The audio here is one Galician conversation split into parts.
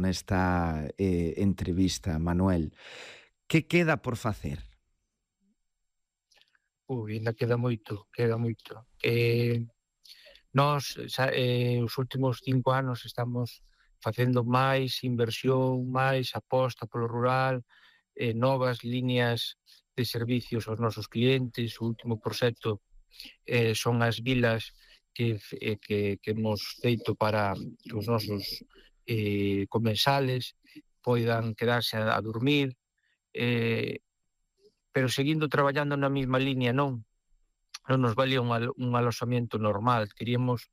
nesta entrevista, Manuel. Que queda por facer? Ainda queda moito, Nós, os últimos 5 anos estamos facendo máis inversión, máis aposta polo rural, novas líneas de servicios aos nosos clientes. O último proxecto son as vilas que hemos feito para que os nosos comensales poidan quedarse a dormir, pero seguindo traballando na mesma liña, non nos valía un aloxamento normal. Queríamos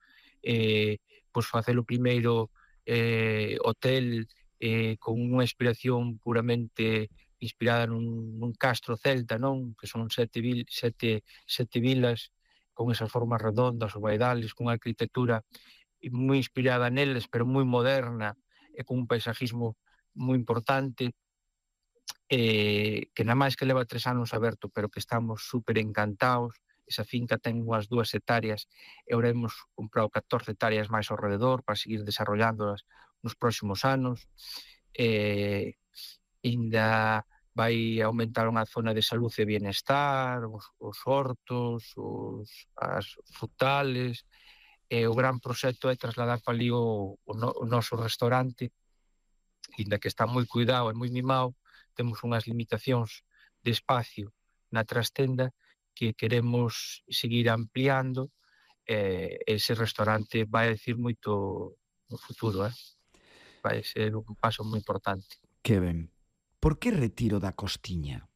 facer o primeiro hotel con unha inspiración puramente inspirada nun castro celta, non? Que son sete vilas con esas formas redondas, ovaidales, con unha arquitectura moi inspirada neles, pero moi moderna e con un paisajismo moi importante, que nada máis que leva 3 anos aberto, pero que estamos super encantados. Esa finca ten unhas 2 hectáreas e ahora hemos comprado 14 hectáreas máis ao redor para seguir desarrollándolas nos próximos anos. Ainda vai aumentar unha zona de salud e bienestar, os hortos, as frutales, e o gran proxecto é trasladar para ali o noso restaurante, ainda que está moi cuidado e moi mimado. Temos unhas limitacións de espacio na trastenda que queremos seguir ampliando. Ese restaurante vai a decir moito no futuro, vai ser un paso moi importante. Que ben. Por que Retiro da Costiña?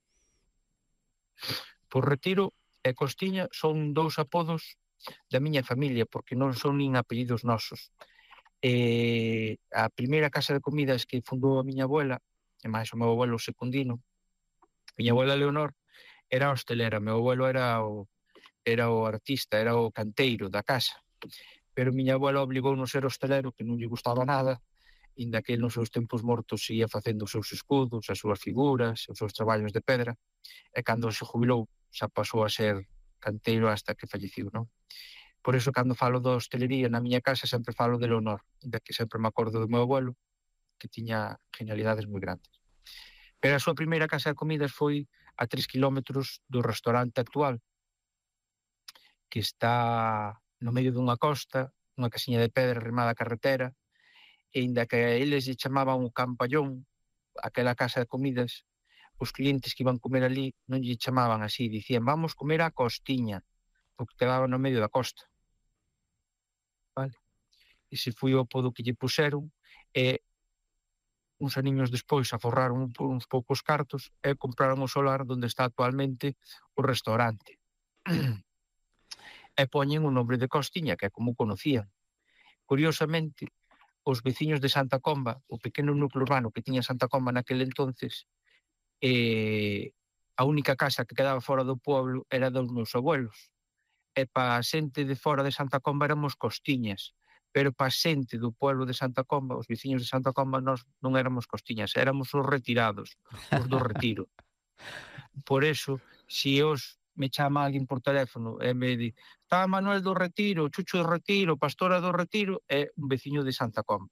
Por Retiro e Costiña son 2 apodos da miña familia, porque non son nin apellidos nosos. A primeira casa de comidas que fundou a miña abuela, e máis o meu abuelo Secundino, a miña abuela Leonor era hostelera, meu abuelo era o artista, era o canteiro da casa, pero miña abuela obligounos a ser hostelero, que non lle gustaba nada, inda que nos seus tempos mortos seguía facendo os seus escudos, as súas figuras, os seus traballos de pedra, e cando se jubilou xa pasou a ser canteiro hasta que falleciu, non? Por iso, cando falo da hostelería na miña casa, sempre falo de Leonor, inda que sempre me acordo do meu abuelo, que tiña genialidades moi grandes. Pero a súa primeira casa de comidas foi a 3 kilómetros do restaurante actual, que está no medio dunha costa, unha casiña de pedra arrimada á carretera, e inda que a eles lle chamaban o Campallón, aquela casa de comidas, os clientes que iban comer ali non lle chamaban así, dicían vamos comer a Costiña, porque quedaba no medio da costa. Vale? Ese foi o apodo que lle puseron, e uns aniños despois aforraron uns poucos cartos e compraron o solar onde está actualmente o restaurante. E poñen o nombre de Costiña, que é como o conocían. Curiosamente, os veciños de Santa Comba, o pequeno núcleo urbano que tiña Santa Comba naquele entonces, a única casa que quedaba fora do pueblo era dos meus abuelos. E para a xente de fora de Santa Comba éramos Costiñas, pero para a xente do pueblo de Santa Comba, os veciños de Santa Comba, nós non éramos Costiñas, éramos os retirados, os do Retiro. Por eso, se os me chama alguén por teléfono e me di está Manuel do Retiro, Chucho do Retiro, Pastora do Retiro, é un veciño de Santa Comba.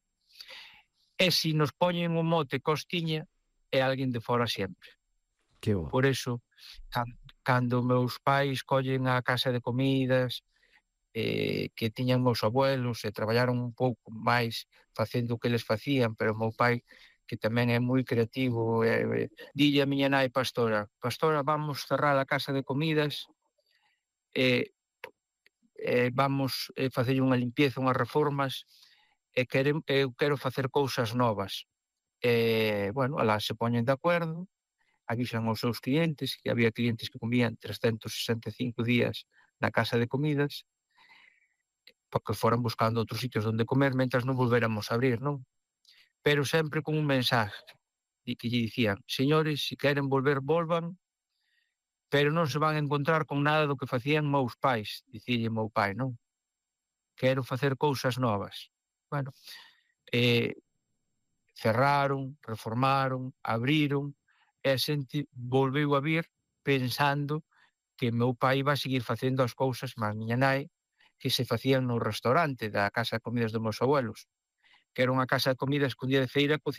E se nos poñen o mote Costiña, é alguén de fora sempre. Que bo. Por eso, cando meus pais collen a casa de comidas que tiñan meus abuelos e traballaron un pouco máis facendo o que eles facían, pero o meu pai, que tamén é moi creativo, dille a miña nai Pastora, vamos cerrar a casa de comidas, vamos facer unha limpieza, unhas reformas, e eu quero facer cousas novas. Bueno, alá se poñen de acordo, avisan aos seus clientes, que había clientes que comían 365 días na casa de comidas, porque foran buscando outros sitios onde comer mentras non volvéramos a abrir, non? Pero sempre con un mensaje que lle dicían, señores, se queren volver, volvan, pero non se van a encontrar con nada do que facían meus pais, dicílle meu pai, non? Quero facer cousas novas. Bueno, cerraron, reformaron, abriron, e a xente volveu a vir pensando que meu pai iba a seguir facendo as cousas, mas miña nai, que se facían no restaurante da casa de comidas dos meus abuelos. que era unha casa de comida escondida de feira,